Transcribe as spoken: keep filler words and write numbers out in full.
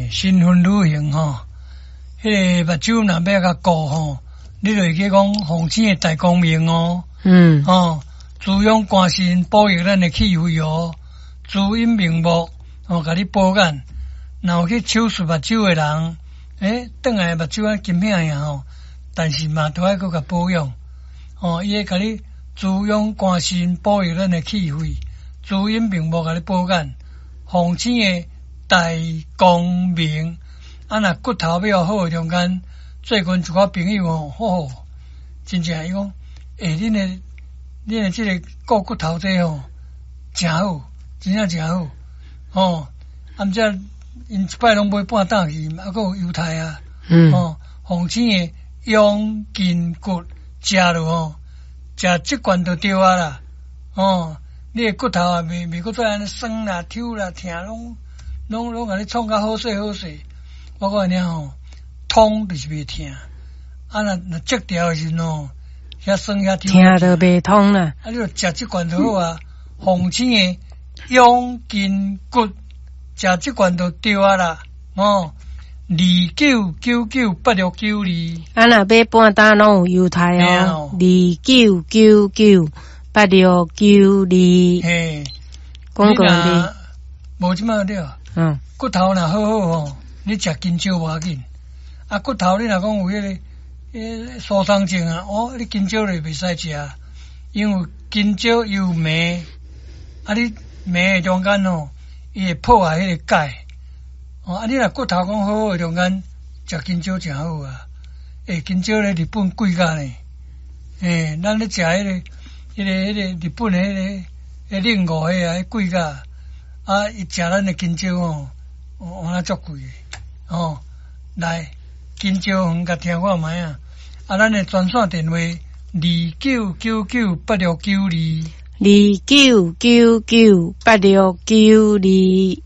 欸，新婚旅行吼，彼个目睭若欲共顧吼，你就會記講鳳星的大光明哦。嗯。吼，滋養肝腎，保育咱的氣血哦，滋陰明目，吼，共你保眼。若有去手術目睭的人，欸，轉來目睭按金片樣吼，但是嘛都愛閣共保養。吼，伊會共你滋養肝腎，保育咱的氣血，滋陰明目，共你保眼。鳳星的大光明，啊，若骨頭欲好的中間，最近一寡朋友吼，吼，真正伊講，欸，恁的恁的這个顧骨頭這吼，誠好，真正誠好，吼，啊，毋才𪜶一擺攏買半擔去，啊，閣有優待啊，嗯，吼，鳳星的養筋骨食落吼，食這罐就對啊啦，吼，你的骨頭啊，袂袂閣再按呢酸啦、抽啦、疼，攏攏攏共你創甲好勢好勢。我講你吼，通就是袂疼，啊若若折掉的時陣吼，遐酸遐抽，疼就袂通啦。啊，你就食這罐就好啊，鳳星的養筋骨，食這罐就對啊啦，吼，二九九九八六九二。啊，若買半擔攏有優待哦，二九九九八六九二。嘿，廣告的，無這麼對。嗯，骨頭若好好吼，你食香蕉無要緊。啊，骨頭你若講有彼个彼个疏鬆症啊，哦，你香蕉就袂使食，因為香蕉有鎂，啊，你鎂的中間吼，伊會破壞彼個鈣。哦，啊，你若骨頭講好好的中間，食香蕉誠好啊。欸，香蕉咧日本貴甲呢，欸，咱咧食彼个、彼个、彼个日本的彼个、彼冷五彼个啊，貴甲，啊，伊食咱的香蕉吼，換啊足貴的，吼，來，香蕉園共聽看覓啊，啊，咱的專線電話二九九九八六九二，二九九九八六九二。